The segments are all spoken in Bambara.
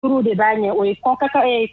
Duuru de b'a ɲɛ. O ye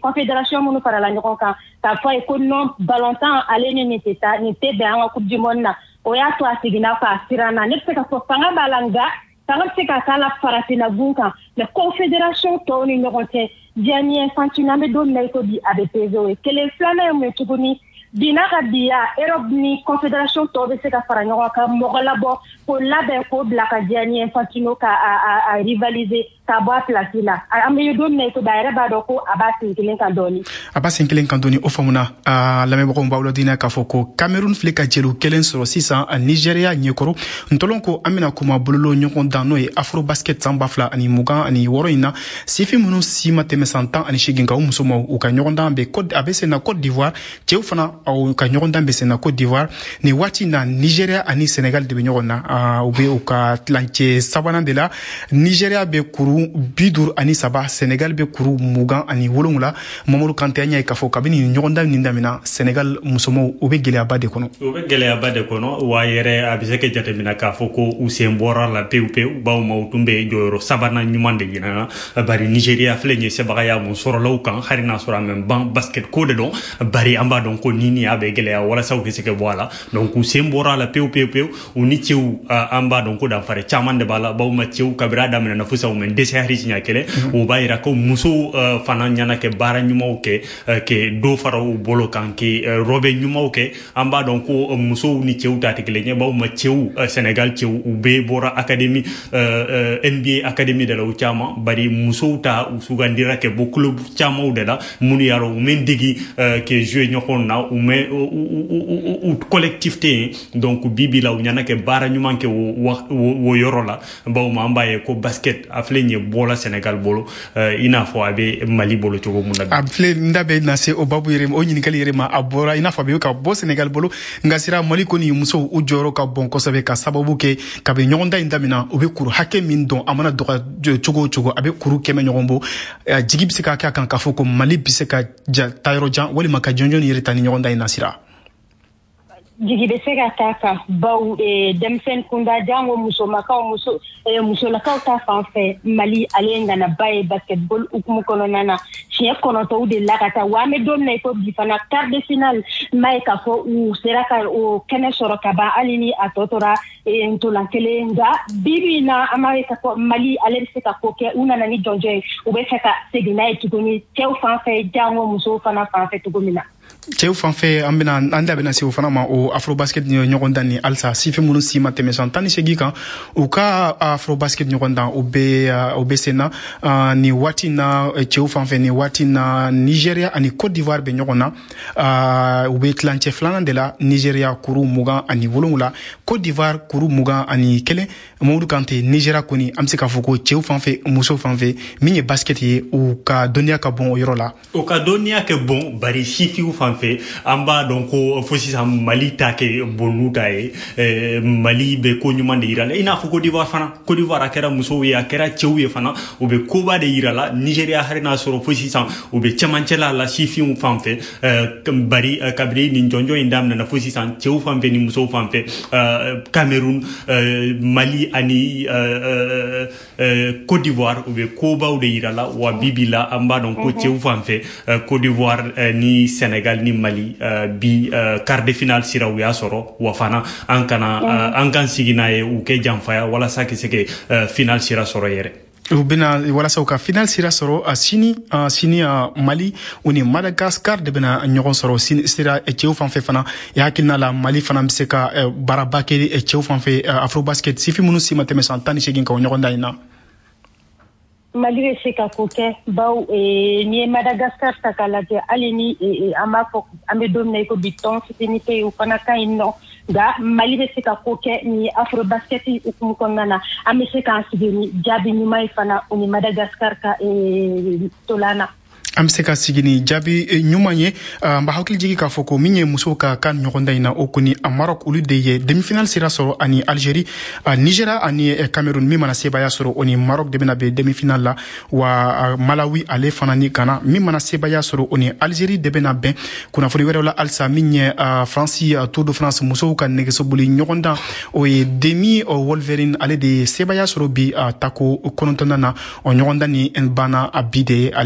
confédération minnu farala ɲɔgɔn kan k'a fɔ a ye ko non, balontan ale ni nin tɛ taa, nin tɛ bɛn an ka Coupe du monde na. O y'a to a seginna k'a siranna. Ne bɛ se ka fɔ fanga b'a la, nka fanga bɛ se ka k'a la farafinna gun kan, mais confédération tɔw ni ɲɔgɔn cɛ, Gianni Infantino, an bɛ don min na i ko bi, a bɛ peser. O ye kelen. Filanan ye mun ye tuguni? Bi n'a ka biya, Europe ni confédération tɔw bɛ se ka fara ɲɔgɔn kan, mɔgɔ labɔ k'o labɛn k'o bila ka Gianni Infantino ka a rivaliser k'a bɔ a place la. An bɛ don min na i ko bi, a yɛrɛ b'a dɔn ko a b'a sen kelen kan dɔɔni. A b'a sen kelen kan dɔɔni, o faamuna. Lamɛnbagaw b'aw ladɔnniya k'a fɔ ko Cameroun filɛ ka jeliw kelen sɔrɔ sisan Nigeria ɲɛkɔrɔ. Ntɔlɔn ko an bɛna kuma bololo ɲɔgɔn dan, n'o ye Afrobasket san 2026 in na, sifin minnu si ma tɛmɛ san 18 kan, o musomaw, u ka ɲɔgɔndan bɛ, a bɛ sen na Côte d'Ivoire. Cɛw fana, u ka ɲɔgɔndan bɛ sen na Côte d'Ivoire. Nin waati na, Nigeria ani Sénégal de bɛ ɲɔgɔn na, u bɛ u ka tilancɛ sabanan de la. Nigeria bɛ kuru 53, Sénégal bɛ kuru 27. Mamadu Kante, an y'a ye k'a fɔ kabini nin ɲɔgɔndan nin daminɛ, Sénégal musomaw, u bɛ gɛlɛyaba de kɔnɔ. U bɛ gɛlɛyaba de kɔnɔ wa yɛrɛ. A bɛ se ka jateminɛ k'a fɔ ko u sen bɔra la pewu pewu, bawo ma u tun bɛ jɔyɔrɔ sabanan ɲuman de ɲinana, bari Nigeria filɛ nin ye, sebagaya mun sɔrɔla u kan, hali n'a sɔrɔ a mɛ ban basket ko de don, bari an b'a dɔn ko ni a bɛ gɛlɛya walasa u ka se ka bɔ a la. Donc u sen bɔra a la pewu pewu pewu. U ni cɛw, an b'a dɔn ko danfara caman de b'a la, bawo ma cɛw kabiri a daminɛna fo sisan, u mɛ dɛsɛ hali siɲɛ kelen. O b'a yira ko musow fana ɲɛna kɛ baara ɲumanw kɛ, ke dɔ fara u bolo kan, ke rɔbɛ ɲumanw kɛ. An b'a dɔn ko musow ni cɛw ta tɛ kelen ye, bawo ma cɛw, Sénégal cɛw, u bɛɛ bɔra académie, NBA académie de la, u caman, bari musow ta, u sugandira kɛ bɔ club camanw de la minnu y'a u mɛ degi ke jouer ɲɔgɔn na, u mɛ u collectif tɛ yen. Donc bi bi la, u ɲɛna kɛ baara ɲuman kɛ o yɔrɔ la, bawo ma an b'a ye ko basket a filɛ nin ye bɔla Sénégal bolo, i n'a fɔ a bɛ Mali bolo cogo mun na. A filɛ, n da bɛ na se o babu yɛrɛ, o ɲininkali yɛrɛ ma. A bɔra i n'a fɔ a bɛ ka bɔ Sénégal bolo, nka sira Mali kɔni musow, u jɔyɔrɔ ka bon kosɛbɛ, ka sababu kɛ kabi ɲɔgɔndan in daminɛ, u bɛ kuru hakɛ min dɔn, a mana dɔgɔ cogo o cogo, a bɛ kuru 100 ɲɔgɔn bɔ. Jigi bɛ se ka kɛ a kan k'a fɔ ko Mali bɛ se ka taa yɔrɔ jan walima ka jɔnjɔn yɛrɛ ta ni ɲɔgɔndan in na, sira? Jigi bɛ se ka k'a kan, baw denmisɛnnin kunda, jango musomakaw, muso musolakaw ta fan fɛ, Mali ale ye ŋanaba ye basketball hukumu kɔnɔna na. Siɲɛ 9 de la ka taa wa. An bɛ don min na i ko bi fana, quart de finale, n b'a ye k'a fɔ u sera ka o kɛnɛ sɔrɔ ka ban, hali ni a tɔ tora ntolan kelen. Nka bi bi in na, an b'a ye k'a fɔ Mali ale bɛ se ka ko kɛ. U nana ni jɔnjɔn ye, u bɛ fɛ ka segin n'a ye tuguni, cɛw fan fɛ, jango musow fana fan fɛ cogo min na. Cɛw fan fɛ, an bɛna an da bɛna se o fana ma, o Afrobasket ɲɔgɔn dan ni halisa sifin minnu si ma tɛmɛ san 18 kan, u ka Afrobasket ɲɔgɔn dan, o bɛ sen na nin waati na. Cɛw fan fɛ, nin waati na, Nigeria ani Côte d'Ivoire bɛ ɲɔgɔn na, u bɛ tilancɛ filanan de la. Nigeria kuru 27, Côte d'Ivoire kuru 21. Mamadu Kante, Nigeria kɔni, an bɛ se k'a fɔ ko cɛw fan fɛ, musow fan fɛ, min ye basket ye, u ka dɔnniya ka bon o yɔrɔ la. U ka dɔnniya kɛ bon, bari sifiw fan fɛ, an b'a dɔn ko fo sisan Mali ta kɛ bon n'u ta ye. Mali bɛ ko ɲuman de yira la, i n'a fɔ Côte d'Ivoire fana. Côte d'Ivoire, a kɛra musow ye, a kɛra cɛw ye fana, u bɛ koba de yira la. Nigeria, hali n'a sɔrɔ fo sisan u bɛ cɛmancɛla la sifinw fan fɛ, bari kabini nin jɔnjɔn in daminɛna fo sisan, cɛw fan fɛ ni musow fan fɛ, Cameroun, Mali ani Côte d'Ivoire, u bɛ kobaw de yira la wa. Bi bi la, an b'a dɔn ko cɛw fan fɛ, Côte d'Ivoire ni Sénégal ni Mali bi quart de finale sira u y'a sɔrɔ wa. Fana an kana an kan sigi n'a ye, u kɛ janfaya walasa ka se ka finale sira sɔrɔ yɛrɛ. U bɛna walasa u ka final sira sɔrɔ sini. Sini, Mali, u ni Madagascar de bɛna ɲɔgɔn sɔrɔ sini. Sira, cɛw fan fɛ fana, i hakilina la, Mali fana bɛ se ka baaraba kɛ cɛw fan fɛ, Afrobasket, sifin minnu si ma tɛmɛ san 18 kan, o ɲɔgɔn dan in na? Mali bɛ se ka ko kɛ, baw n'i ye Madagascar ta k'a lajɛ, hali ni an b'a fɔ an bɛ don min na i ko bi, tɔn fitinin tɛ yen, o fana ka ɲi nɔ. Nka Mali bɛ se ka ko kɛ ni Afrobasket hukumu kɔnɔna na. An bɛ se k'an sigi ni jaabi ɲuman ye fana, o ni Madagascar ka tolan na. An bɛ se ka sigi ni jaabi ɲuman ye. N b'a hakili jigi k'a fɔ ko min ye musow ka kan ɲɔgɔndan in na, o kɔni a Maroc, olu de ye demi-finale sira sɔrɔ ani Algérie. Nigeria ani Cameroun, min mana sebaaya sɔrɔ, o ni Maroc de bɛna bɛn demi-finale la. Wa Malawi, ale fana ni Ghana, min mana sebaaya sɔrɔ, o ni Algérie de bɛna bɛn. Kunnafoni wɛrɛw la halisa, min ye Faransi Tour de France musow ka nɛgɛsoboli ɲɔgɔndan, o ye Demi Vollering, ale de ye sebaaya sɔrɔ bi tako 9nan na. O ɲɔgɔndan ni banna a bi de.